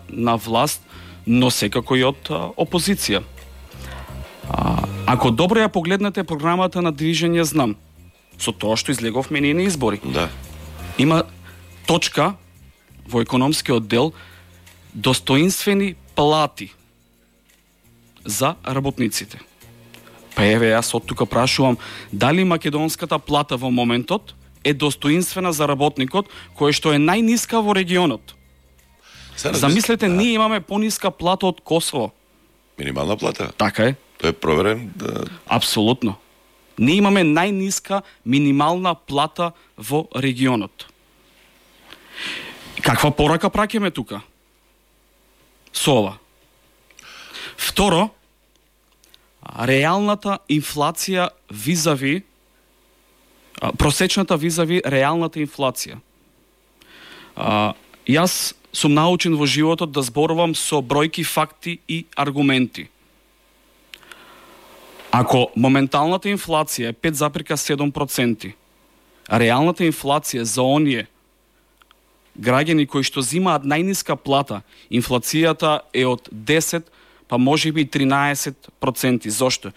на власт, но секако и од опозиција. Ако добро ја погледнете програмата на Движење Знам, со тоа што излеговме ние на избори, Да. има точка во економскиот дел достоинствени плати за работниците. Па еве, јас од тука прашувам, дали македонската плата во моментот е достоинствена за работникот, кој што е најниска во регионот? Замислете, ние имаме пониска плата од Косово. Минимална плата. Така е. Тој е проверен. Апсолутно. Ние имаме најниска минимална плата во регионот. Каква порака праќаме тука? Со ова. Второ, реалната инфлација визави, просечната визави реалната инфлација. Јас сум научен во животот да зборувам со бројки, факти и аргументи. Ако моменталната инфлација е 5,7%, а реалната инфлација за оние граѓани кои што зимаат најниска плата, инфлацијата е од 10, па може би 13%. Зошто?